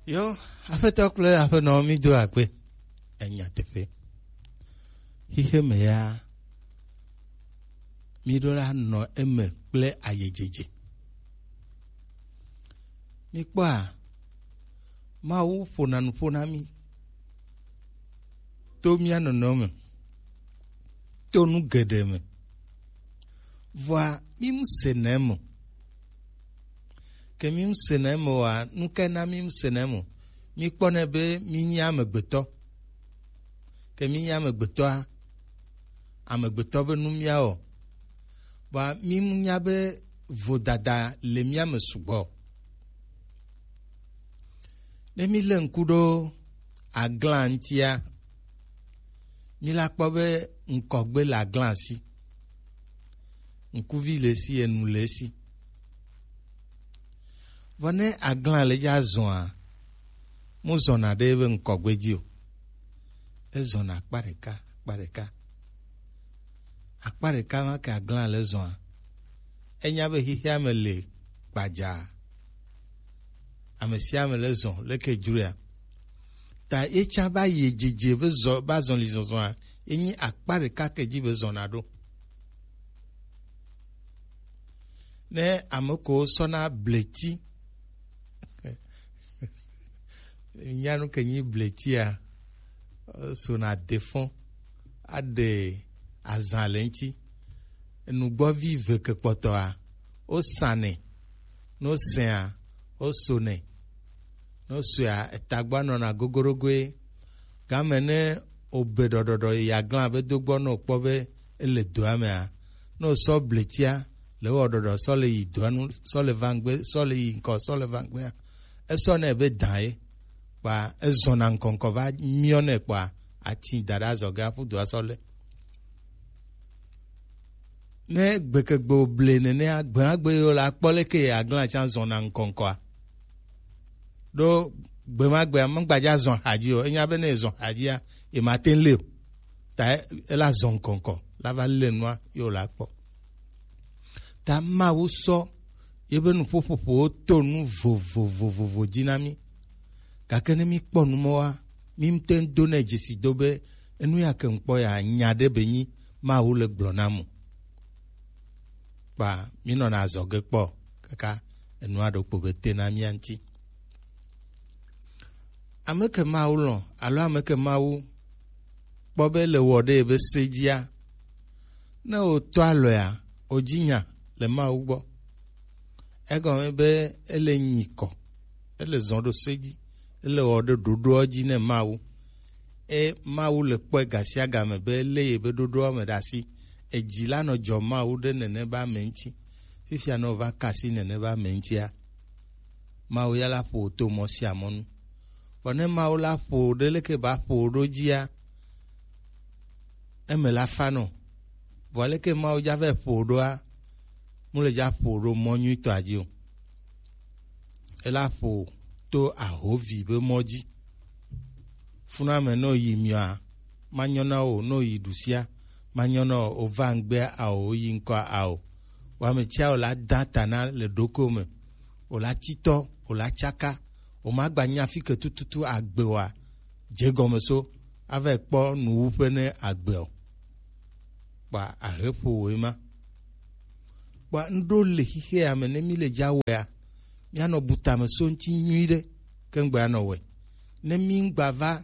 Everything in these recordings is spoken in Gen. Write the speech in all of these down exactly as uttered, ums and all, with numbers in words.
Yo, aƒetɔ kple aƒenɔ, mi do akpe. Enya teƒe. Xixe me ya, mi ɖo la nɔ eme kple ayedzedze. Mi kpɔa, Mawu ƒona nu ƒo na mi to mía nɔnɔme me, to nu geɖe me. Vɔa, mi mu sena eme o. Ke mi mu sena eme oa, nu kae na mi mu sena eme o? Mi kpɔnɛ be mi nyi amegbetɔ. Ke mi nyi amegbetɔa, amegbetɔ be nu mía wɔ. Vɔa, mi mu nya be vodada le mía me sugbɔ. Ne mi lé ŋku ɖo aglã ŋutia, mi la kpɔ be ŋkɔgbe le aglã si. Ŋkuvi le esi, enu le esi. Vɔ ne aglã le dza zɔa, mu zɔna ɖe ebe ŋkɔgbe dzi o. Ezɔna akpa ɖeka, akpa ɖeka. Akpa ɖeka ma ke aglã le zɔa, enya be xixea me le gbadzaa. Ame sia ame le zɔ leke dzroea. Ta ye tsã va yi dzidzi be zɔ, va zɔli zɔzɔa, ye nyi akpa ɖeka ke dzi be zɔna ɖo. Ne ame ko sɔna bleti, nyanu ke nyi bletia, sona defɔn, aɖe azã le ŋuti. Nugbɔvi ve ke kpɔtɔa, wosanɛ. Ne wosea, wosonɛ. Ne wosoea, etagbɔa nɔna gogorogoe. Game ne obe ɖɔɖɔɖɔ yi aglã be do gbɔ ne wokpɔ be ele doa mea, ne wosɔ bletia le wɔ ɖɔɖɔ sɔ le yi doa nu, sɔ le va ŋgbe, sɔ le yi ŋkɔ, sɔ le va ŋgbea, esɔ nɛ be dã ye. Kpa ezɔna ŋkɔŋkɔ va miɔ nɛ kpa ati da ɖe azɔ ge aƒu doa sɔ le. Ne gbekegbe ble nenea, gbemagbe yewo la kpɔ leke aglã tsã zɔna ŋkɔŋkɔa. Ɖo gbemagbea megbadza zɔ hadzi o. Enya be ne ezɔ hadzia, emate ŋu le o. Ta e-, ela zɔ ŋkɔŋkɔ, la va le nua yewo la kpɔ. Ta Mawu sɔ yebe nuƒoƒoƒowo to nu vovovovovo dzi na mí. Gake ne mí kpɔ nu mɔwa, mí ŋutɔ do nɛ dzesi do be enu ya ke ŋkpɔ ya nya ɖe be nyi Mawu le gblɔ na mu. Kpa mí nɔna azɔ ge kpɔ kaka enua ɖo kpo be te na mía ŋuti. Ame ke Mawu lɔ̃ alo ame ke Mawu kpɔ be le wɔ ɖe ebe se dzia, ne wòtɔ alɔea, wòdzi nya le Mawu gbɔ. Egɔme be ele nyi kɔ, ele zɔ ɖo se dzi, ele wɔ ɖe ɖoɖoa dzi ne Mawu. E Mawu le kpɔe gasiagame be lé ye be ɖoɖoa me ɖe asi. Edzi la nɔ dzɔ Mawu ɖe nene be ame ŋuti. Fifia ne wòva ka asi nene be ame ŋutia, Mawu ya la ƒo wò to mɔ sia mɔ nu. Vɔ ne Mawu la ƒo wò ɖe leke ba ƒo wò ɖo dzia, eme la fa nɔ. Vɔ leke Mawu dza vɛ ƒo wò ɖoa, mu le dza ƒo wò ɖo mɔ nyuitɔa dzi o. Ela ƒo wò to ahovi be mɔ dzi. Funame ne wòyi miɔa, manyɔ na wò, ne wòyi ɖusia, manyɔ na wò, wòva ŋgbea ao, wòyi ŋkɔa ao. Wame tsia wòla da ta na le ɖokuiwò me. Wòla titɔ, wòla tsaka, wòmagba nya fi ke tututu agbe oa, dze gɔme so, ava kpɔ nuwuƒe ne agbe o. Kpa ahe ƒo wòe ma. Kpa ŋɖo le xixea me ne mí le dza wɔea, míanɔ bu tame so ŋuti nyuiɖe, ke ŋgbe anɔ wɔe. Ne mí ŋgba va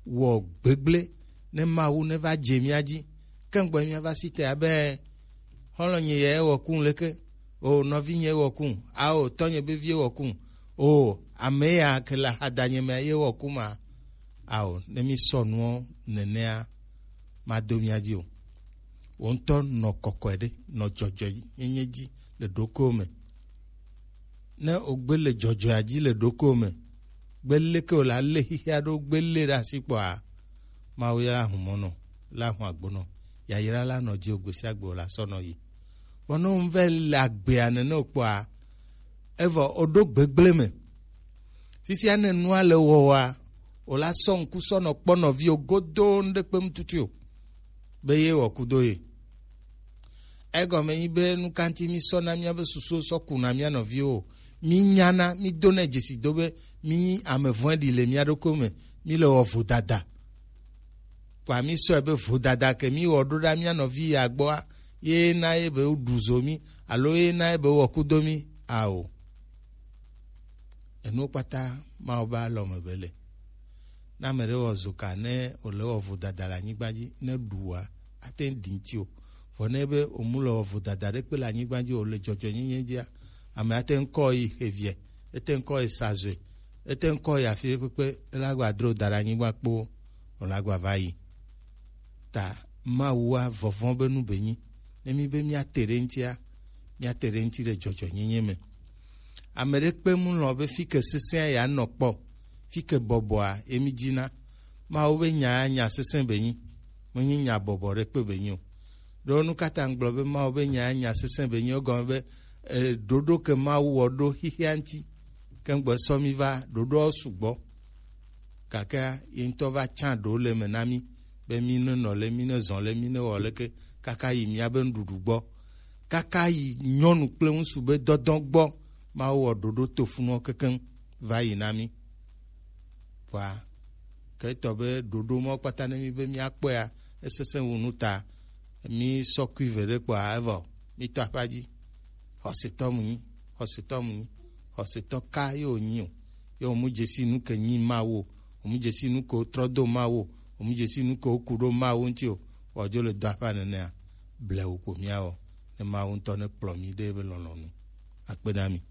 wɔ gbegblẽ, ne Mawu ne va dze mía dzi, ke ŋgbe míava si te abe, xɔlɔ̃nye ye wɔ kum leke, o nɔvinye wɔ kum, ao tɔnye be vie wɔ kum, o ame ya ke le ahadanye me ye wɔ kum a, ao ne mí sɔ nuɔ nenea, mado mía dzi o. Wò ŋutɔ nɔ kɔkɔe ɖe, nɔ dzɔdzɔenyenye dzi le ɖokuiwò me. Ne wògbe le dzɔdzɔea dzi le ɖokuiwò me, gbe leke wòla lé xixia ɖo, gbe lé ɖe asi kpɔa, Mawu ya la hu mɔ nɔ, la hu agbo nɔ, yayra la nɔ dzi o, gbe sia gbe wòla sɔ nɔ yi. Vɔ ne wò ŋu vɛ le agbea nene wò kpɔa, evɔ wòɖo gbegblẽ me. Fifia ne nua le wɔwɔa, wòla sɔ ŋku sɔ nɔ kpɔ nɔviwò godoo ŋɖe kpem tutu o, be ye wɔ kudo ye. Egɔme nyi be nu ka ŋuti mísɔna míabe susuwo sɔ kuna mía nɔviwo o? Mí nyana, mí dona dzesi do be mí ame vɔ̃ɖi le mía ɖokui me, mí le wɔ vodada. Kpa mí sɔe be vodada ke mí wɔ ɖo ɖa mía nɔvi ya gbɔa, ye na ye be woɖu zo mí, alo ye na ye be wɔ kudo mí. Ao. Enuwo kpata Mawu be alɔ me be le. Ne ame ɖe wɔ zoka ne wòle wɔ vodada le anyigba dzi, ne ɖu wòa, ate ŋu ɖi ŋuti o. Vɔ ne be wòmu le wɔ vodada ɖe kpe le anyigba dzi o, le dzɔdzɔenyenye dzia, ame ate ŋu kɔ yi xeviɛ, ete ŋu kɔ yi sa zoe, ete ŋu kɔ yi afi ɖe kpekpe, ele agba dro da ɖe anyigba kpoo, wòle agba va yi. Ta Mawua vɔvɔ̃ be nu be nyi. Ne mí be míate ɖe eŋutia, míate ɖe eŋuti le dzɔdzɔenyenye me. Ame ɖe kpe mu lɔ̃ be fi ke sesẽa yeanɔ kpɔ, fi ke bɔbɔa ye mí dzina. Mawu be nya nya sesẽ be nyi, menye nya bɔbɔ ɖe kpe be nyi o. Ɖo nu ka ta ŋgblɔ be Mawu be nya nya sesẽ be nyi? Egɔme be e, ɖoɖo ke Mawu wɔ ɖo xixia ŋuti, ke ŋgbe sɔ mí va ɖoɖoawo sugbɔ. Gake ye ŋutɔ va tsã ɖewo le eme na mí be mí ne nɔ le, mí ne zɔ le, mí ne wɔ leke kaka yi míabe nuɖuɖu gbɔ, kaka yi nyɔnu kple ŋutsu be dɔdɔ gbɔ. Mawu wɔ ɖoɖo tofunuwo kekeŋ va yi na mí. Vɔa ke etɔ be ɖoɖo mawo kpata ne mí be míakpɔea, esesẽ wu nu ta mí sɔ kui ve ɖe kpɔa evɔ mí tɔ aƒa dzi. Xɔsetɔ mu nyi, xɔsetɔ mu nyi, xɔsetɔ ka ye wònyi o. Ye wòmu dzesi nu ke nyi Mawu o, wòmu dzesi nu ke wotrɔ do Mawu o, wòmu dzesi nu ke woku ɖo Mawu ŋuti o, wòdzo le dɔaƒa nenea, blewu ko míawɔ, ne Mawu ŋutɔ nekplɔ mí ɖe ebe lɔlɔ̃nu. Akpe na mi.